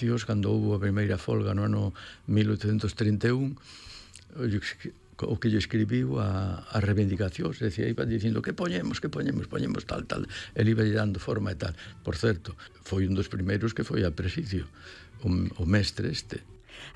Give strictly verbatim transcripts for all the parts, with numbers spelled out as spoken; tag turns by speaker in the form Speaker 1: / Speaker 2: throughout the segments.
Speaker 1: reivindicacións cando houve a primeira folga no ano mil oitocentos trinta e un, o que lle escribiu a, a reivindicacións, decía, iba dicindo que poñemos, que poñemos, poñemos tal, tal, ele iba lle dando forma e tal. Por certo, foi un dos primeiros que foi a presidio, o, o mestre este.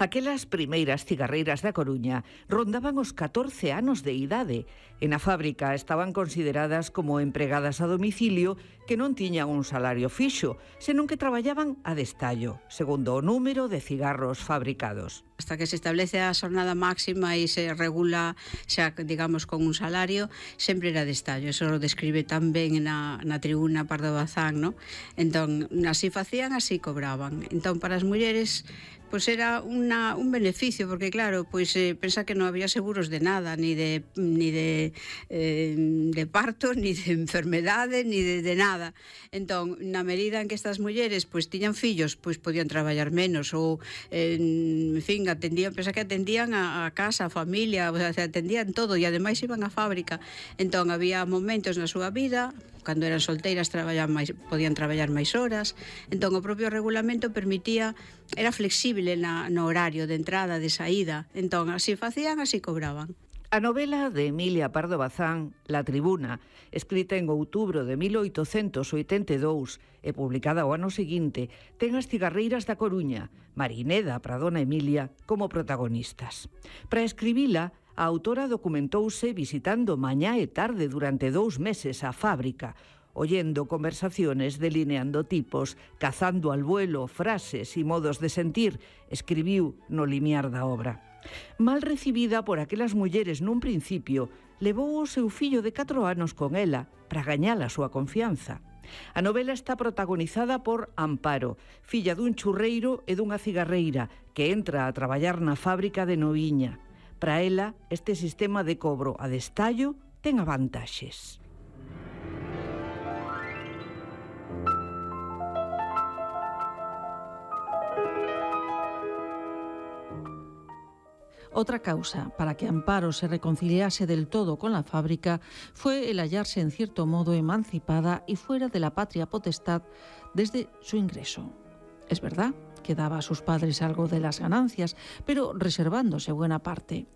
Speaker 2: Aquelas primeiras cigarreiras da Coruña rondaban os catorce anos de idade e na fábrica estaban consideradas como empregadas a domicilio que non tiñan un salario fixo, senón que traballaban a destallo, segundo o número de cigarros fabricados.
Speaker 3: Hasta que se establece a xornada máxima e se regula xa, digamos, con un salario, sempre era destallo. Eso lo describe tan ben na, na tribuna Pardo Bazán, ¿no? Entón, así facían, así cobraban. Entón, para as mulleres, pois era una, un beneficio, porque claro, pois eh, pensa que non había seguros de nada, ni de ni de, eh, de parto, ni de enfermedade, ni de, de nada. Entón, na medida en que estas mulleres pois tiñan fillos, pois podían traballar menos, ou, eh, en fin, atendían, pensa que atendían a, a casa, a familia, o sea, atendían todo, e ademais iban á fábrica. Entón, había momentos na súa vida, cando eran solteiras traballaban máis, podían traballar máis horas. Entón, o propio regulamento permitía, era flexible na, no horario de entrada, de saída. Entón, así facían, así cobraban.
Speaker 2: A novela de Emilia Pardo Bazán, La Tribuna, escrita en outubro de mil oitocentos oitenta e dous e publicada o ano seguinte, ten as cigarreiras da Coruña, Marineda para dona Emilia, como protagonistas. Para escribila, a autora documentouse visitando mañá e tarde durante dous meses a fábrica, oyendo conversaciones, delineando tipos, cazando al vuelo frases e modos de sentir, escribiu no limiar da obra. Mal recibida por aquelas mulleres nun principio, levou o seu fillo de catro anos con ela para gañar a súa confianza. A novela está protagonizada por Amparo, filla dun churreiro e dunha cigarreira, que entra a traballar na fábrica de Noviña. Para ela, este sistema de cobro a destallo ten avantaxes.
Speaker 4: Otra causa para que Amparo se reconciliase del todo con la fábrica fue el hallarse en cierto modo emancipada y fuera de la patria potestad desde su ingreso. Es verdad que daba a sus padres algo de las ganancias, pero reservándose buena parte.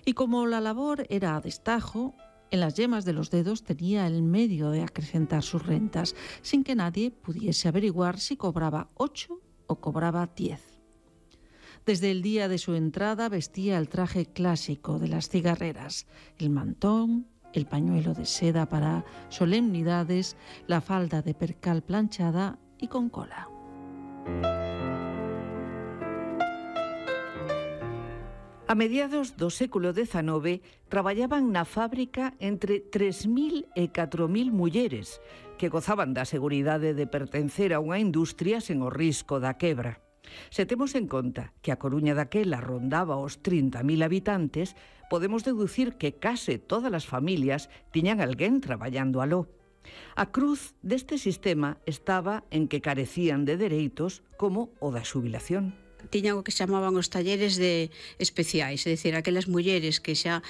Speaker 4: Y como la labor era a destajo, en las yemas de los dedos tenía el medio de acrecentar sus rentas, sin que nadie pudiese averiguar si cobraba ocho o cobraba diez. Desde el día de su entrada vestía el traje clásico de las cigarreras, el mantón, el pañuelo de seda para solemnidades, la falda de percal planchada y con cola.
Speaker 2: A mediados do século dezanove traballaban na fábrica entre tres mil e catro mil mulleres que gozaban da seguridade de pertencer a unha industria sen o risco da quebra. Se temos en conta que a Coruña daquela rondaba os trinta mil habitantes, podemos deducir que case todas as familias tiñan alguén traballando aló. A cruz deste sistema estaba en que carecían de dereitos como o da xubilación.
Speaker 3: Tiñan o que chamaban os talleres de especiais, é dicir, aquelas mulleres que xa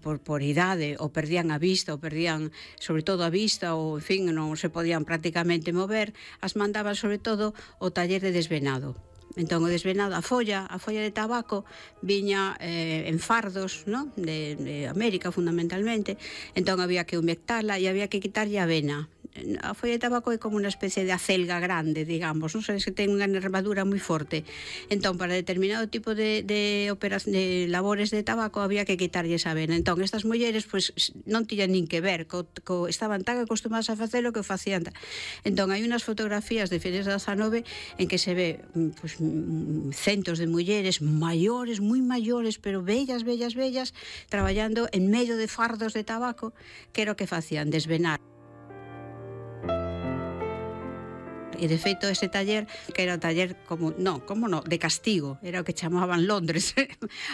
Speaker 3: por, por idade ou perdían a vista ou perdían sobre todo a vista ou, en fin, non se podían prácticamente mover, as mandaban sobre todo o taller de desvenado. Entón, o desvenado, a folla, a folla de tabaco viña eh, en fardos, ¿no? de, de América fundamentalmente, entón había que humectala e había que quitarlle a vena. A folla de tabaco é como unha especie de acelga grande, digamos, non sei se ten unha nervadura moi forte. Entón, para determinado tipo de, de, de labores de tabaco había que quitarlle esa vena. Entón, estas mulleres pues, non tiñan nin que ver, co, co, estaban tan acostumadas a facelo que o facían. Entón, hai unhas fotografías de finales do dezanove en que se ve pues, centos de mulleres maiores, moi maiores, pero bellas, bellas, bellas, traballando en medio de fardos de tabaco, que era o que facían, desvenar. E de feito ese taller, que era o taller como, no, como no, de castigo, era o que chamaban Londres,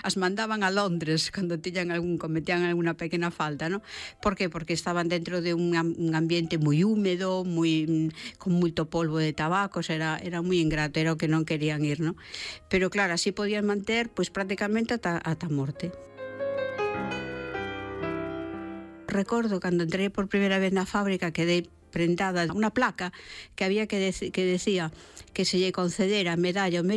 Speaker 3: as mandaban a Londres cando tiñan algún, cometían alguna pequena falta, ¿no? Por que? Porque estaban dentro de un, un ambiente moi húmedo, moi, con moito polvo de tabaco, era, era moi ingrato, era o que non querían ir, ¿no? Pero claro, así podían manter, pois prácticamente ata, ata morte. Recordo cando entrei por primeira vez na fábrica, quedei prentada unha placa que había que, dec que decía que se lle concedera medalla ao mérito